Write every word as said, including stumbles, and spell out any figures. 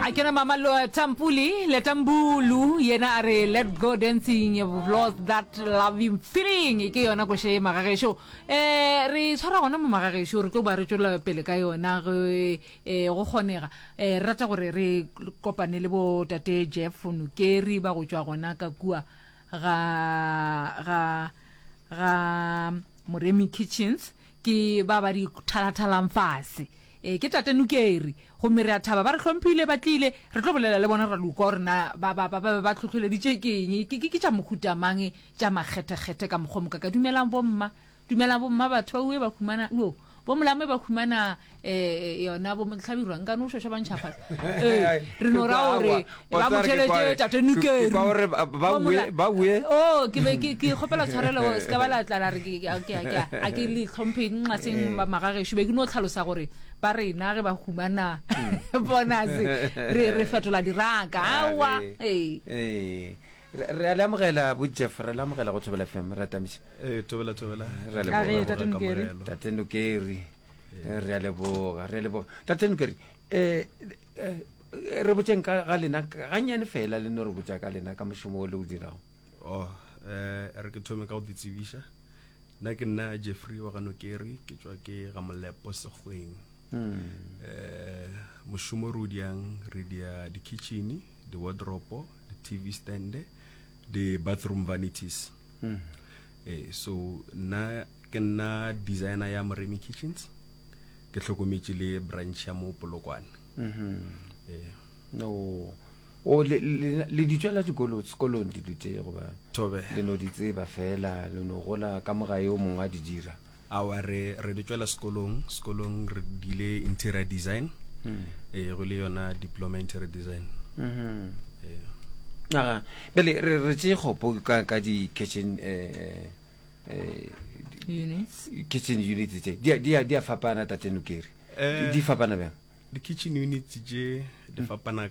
A ke na mama lo Tampuli le Tambulu yena a re let go dancing you've lost that loving feeling ke yona koše ye magagešo eh re tshwara gona mo magagešo re tlo ba re tšwela pele ka yona ge eh go kgonega eh re rata gore re kopane le bo tate Jeff Nokeri ba go tšwa gona ka kua ga ga ga Moremi Kitchens ke ba ba di thalathalang fase e ke tate Nokeri gomme re a thaba ba re hlomphile ba tlile re tlo bolela le bona ra lokwa gore na ba ba ba ba ba tlhotlholeditše ke eng ke ke tša mohuta mang tša makgethekgethe ka mokgwa moka ka dumelang bomma dumelang bomma batho ba ue ba humana o bo molame ba humana eh yona bo hlabirwa nka no šoša ba ntšha fase ee re no ra gore ba mo tšhelete tate Nokeri gore ba bue ba bue oh ke be ke ke kgopela tshwarelo se ka ba la tla la re ke ke ke a ke le tlhomphe nxa seng magagešo be ke no tlhalosa gore ba rena ge ba humana bonus re re fetola diraka aowa ee ee re a le amogela bo Jeff re le amogela go Thobela FM re atamiša ee thobela thobela re a A re, leboga Tate Nokeri. tate Nokeri re a leboga re a leboga tate Nokeri eh eh, re botseng ka ga lena gannyane fela le no re botsa ka lena ka mošomo o le o dirago oh eh re ke thome ka go ditsebiša nna ke nna Jeffrey wa ga Nokeri ke tšwa ke ga Molepo Sekgweng eh mošomo re o diang re dia di-kitchen di-wardrobe di-tv stand di-bathroom vanities eh so nna ke nna designer ya Moremi Kitchens ke hlokometše le branch ya mo Polokwane eh no o le le le di tswela dikolo sekolong dilo tše goba thobe le no di tseba fela le no gola ka moga yo mongwe a di dira awa re re di tswela sekolong sekolong re dile interior design eh go le yona diploma interior design eh aga bjale re re tše kgopo ka ka di-kitchen eh eh units kitchen units tše di a- di a di a fapana tate Nokeri Eh, di fapana bjang di-kitchen units tše di fapana ka